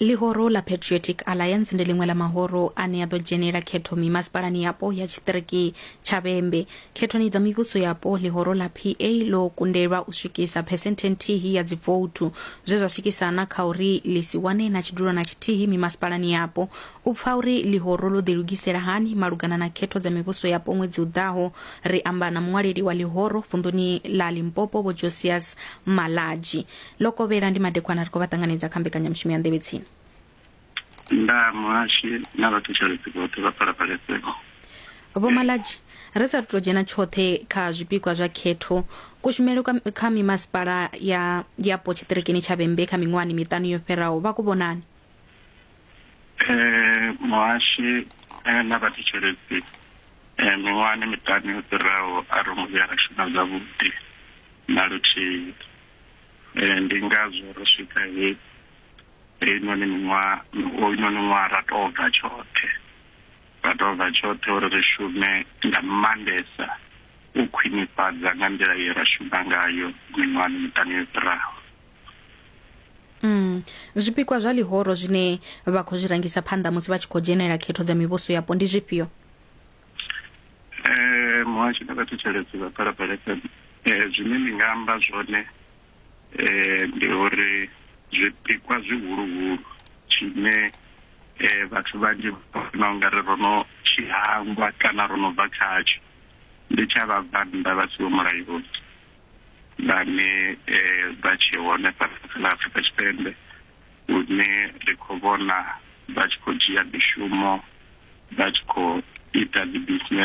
Ḽihoro ḽa Patriotic Alliance ndi ḽiṅwe ḽa mahoro ane a ḓo dzhenela khetho mimasipalani yapo ya tshiṱiriki tsha Vhembe. Khethoni dza mivhuso yapo, ḽihoro ḽa PA ḽo kundelwa u swikisa phesenthe nthihi ya dzivouthu, zwe zwa swikisa na kha uri ḽi si wane na tshidulo na tshithihi mimasipalani yapo. U pfa uri ḽihoro ḽo ḓilugisela hani malugana na khetho dza mivhuso yapo ṅwedzi u ḓaho, ri amba na muṅwaleli wa ḽihoro vunḓuni ḽa Limpopo Vho Josias Malatji. Ḽo kovhela ndi madekwana ri khou vha ṱanganedza kha mbekanyamushumo ya Nḓevhe Tsini. Nda muhashi na vhathetshelesi vhoṱhe vha Phalaphala FM. Vho Malatji, ri sa tou dzhena tshoṱhe kha zwipikwa zwa khetho, kushumele kwa, kha mimasipala ya yapo tshiṱirikini tsha Vhembe kha miṅwahani miṱanu yo fhiraho vha ku vhonani? Eh, muhashi eh, na vhathetshelesi eh, miṅwahani miṱanu yo fhiraho a ro ngo vhuya ra shuma zwavhuḓi na luthihi. Eh, ndi ngazwo ro swika he heinoni miṅwaha hoyunoni ṅwaha ra tou bva tshoṱhe ra tou bva tshoṱhe uri ri shume nga maanḓesa u khwinifhadza nga nḓila ye ra shuma ngayo miṅwahani miṱanu yo fhiraho. Mm. Zwipikwa zwa ḽihoro zwine vha khou zwi rangisa phanḓa musi vha tshi khou dzhenela khetho dza mivhuso yapo ndi zwifhio? Eh, muhasho na vhathetshelesi vha Phalaphala FM eh, zwine ndi nga amba zwone eh, ndi uri zwipikwa zwihuluhulu tshine eh, vhathu vhanzhi vhona ungari ro no tshi hangwa kana ro no bva khatsho ndi tsha vhabvannḓa vha siho mulayoni vhane eh, vha tshe hone fhano kha ḽa Afrika Tshipembe hune ri khou vhona vha tshi khou dzhia mishumo vha tshi khou ita dzi business.